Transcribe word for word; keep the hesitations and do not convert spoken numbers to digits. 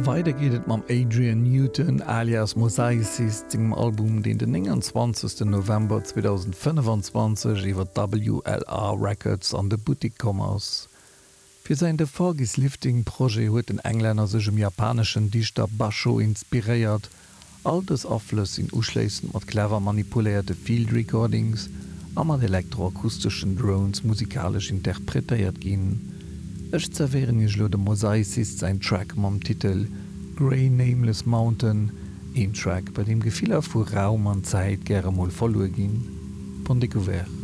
Weider geet et mam Adrian Newton alias Mosaicist sengem Album, deen den nénganzwanzegsten November zweedausendfënnefenzwanzeg iwwer W L R Records an de Buttik komm ass. Fir säin The Fog Is Lifting Projet huet den Englänner sech um japaneschen Dichter Basho inspiréiert. All dës Aflëss sinn uschléissend mat clever manipuléierte Field Recordings a mat elektroakusteschen Drones musikalesch interpretéiert ginn. Ech zerwéieren iech elo dem Mosaicist säin Track mam Titel Grey Nameless Mountain, een Track, bei deem Gefiller vu Raum an Zäit gäre mol verluer ginn. Bonne découverte.